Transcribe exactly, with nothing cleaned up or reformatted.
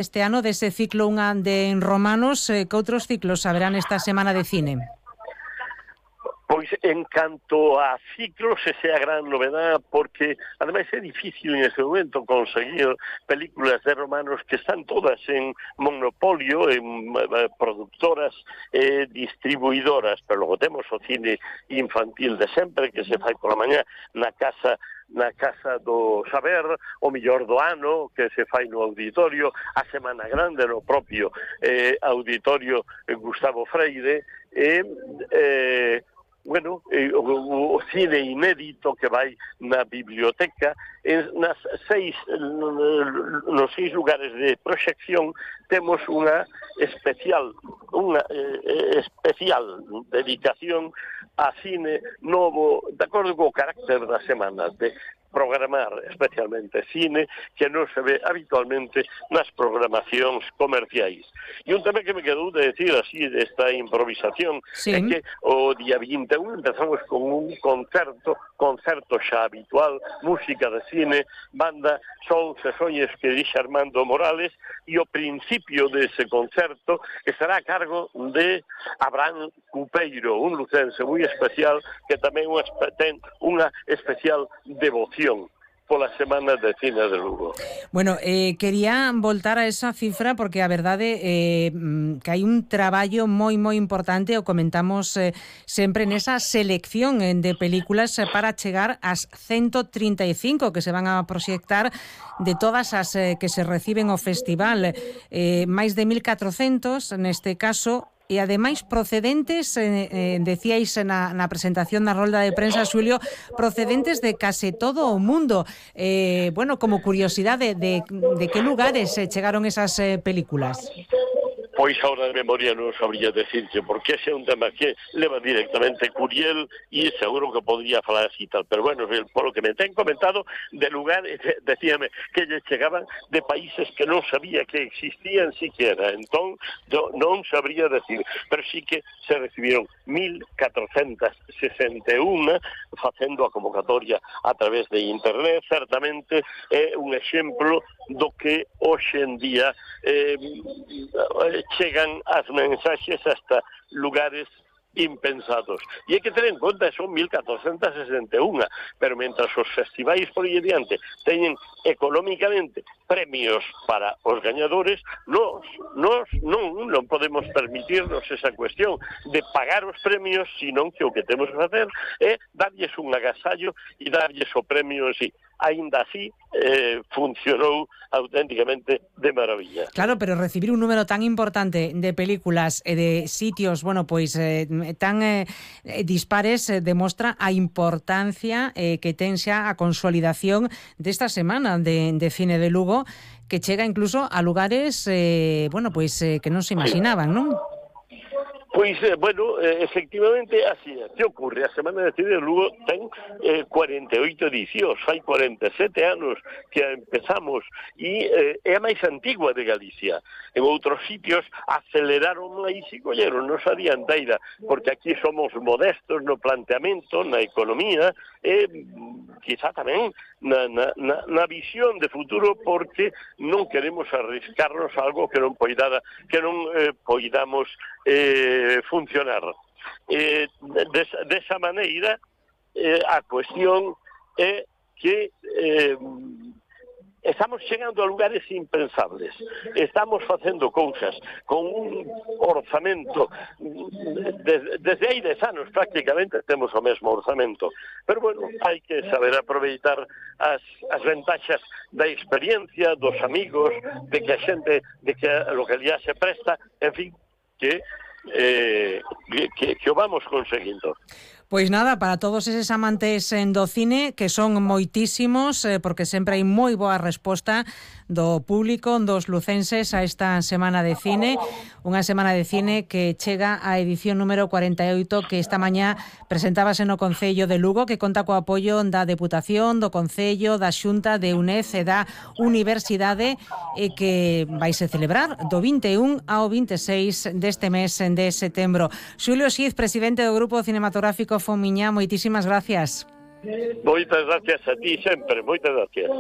este ano dese ciclo unha de Romanos, eh, que outros ciclos haberán esta semana de cine? Pois en canto a ciclos, esa é a gran novedad, porque ademais é difícil en ese momento conseguir películas de romanos que están todas en monopolio, en eh, productoras e eh, distribuidoras, pero logo temos o cine infantil de sempre, que se fai pola mañá na casa na Casa do Saber, o mellor do ano, que se fai no auditorio, a Semana Grande no propio eh, auditorio Gustavo Freire, e eh, bueno, eh, o, o cine inédito que vai na biblioteca, en, nas seis, nos seis lugares de proxección temos unha especial, unha eh, especial dedicación a cine novo, de acordo co carácter da semana, de programar especialmente cine que non se ve habitualmente nas programacións comerciais. E un tema que me quedou de decir así desta improvisación, sí, é que o día vinte e un empezamos con un concerto, concerto xa habitual, música de cine, banda Sons e Soñes que dixe Armando Morales, e o principio dese concerto estará a cargo de Abraham Cupeiro, un lucense moi especial que tamén ten unha especial devoción pola Semana de Cine de Lugo. Bueno, eh, quería voltar a esa cifra porque a verdade eh, que hai un traballo moi moi importante, o comentamos eh, sempre nesa selección de películas para chegar ás ciento trinta e cinco que se van a proxectar de todas as eh, que se reciben ao festival, eh, máis de mil catrocentos neste caso, e ademais procedentes, eh, eh, decíais na, na presentación na rolda de prensa, Xulio, procedentes de case todo o mundo. Eh, bueno, como curiosidade, de, de que lugares eh, chegaron esas eh, películas? Pois ahora de memoria non sabría decirse, porque ese é un tema que leva directamente Curiel e seguro que podría falar así tal, pero bueno, por lo que me ten comentado, de lugares, decíame, que lle chegaban de países que non sabía que existían siquiera, entón non sabría decir, pero sí que se recibiron mil catrocentas sesenta e un facendo a convocatoria a través de internet. Certamente é un exemplo do que hoxe en día eh, chegan as mensaxes hasta lugares impensados. E hai que ter en conta, son mil catrocentas sesenta e un, pero mentras os festivais por aí adiante teñen económicamente premios para os gañadores, nos, nos non, non podemos permitirnos esa cuestión de pagar os premios, senón que o que temos que facer é darlles un agasallo e darlles o premio en sí. Ainda así, eh, funcionou auténticamente de maravilla. Claro, pero recibir un número tan importante de películas e de sitios, bueno, pois eh, tan eh, dispares eh, demostra a importancia eh, que ten xa a consolidación desta semana de, de cine de Lugo, que chega incluso a lugares, eh, bueno, pois eh, que non se imaginaban, non? Pois, eh, bueno, eh, efectivamente, así é. Que ocurre? A Semana de Cine de Lugo ten eh, cuarenta e oito edicións, fai cuarenta e sete anos que empezamos, e eh, é a máis antigua de Galicia. En outros sitios aceleraron máis e colleron nos a dianteira, porque aquí somos modestos no planteamento, na economía, e quizá tamén na, na, na, na visión de futuro, porque non queremos arriscarnos a algo que non poidada, que non eh, poidamos eh, funcionar. Eh, de, de esa maneira, eh, a cuestión é que eh, estamos chegando a lugares impensables. Estamos facendo cousas con un orzamento desde, desde hai dez anos prácticamente temos o mesmo orzamento, pero bueno, hai que saber aproveitar as, as ventaxas da experiencia, dos amigos, de que a xente, de que a localidade se presta, en fin, que eh, que, que o vamos conseguindo. Pois nada, para todos eses amantes do cine, que son moitísimos, eh, porque sempre hai moi boa resposta do público, dos lucenses a esta Semana de Cine, unha Semana de Cine que chega á edición número cuarenta e oito, que esta mañá presentábase no Concello de Lugo, que conta co apoio da Deputación, do Concello, da Xunta, de UNED e da Universidade, e que vaise celebrar do vinte e un ao vinte e seis deste mes de setembro. Xulio Xiz, presidente do Grupo Cinematográfico Fomiñá, moitísimas gracias. Moitas gracias a ti sempre, moitas gracias.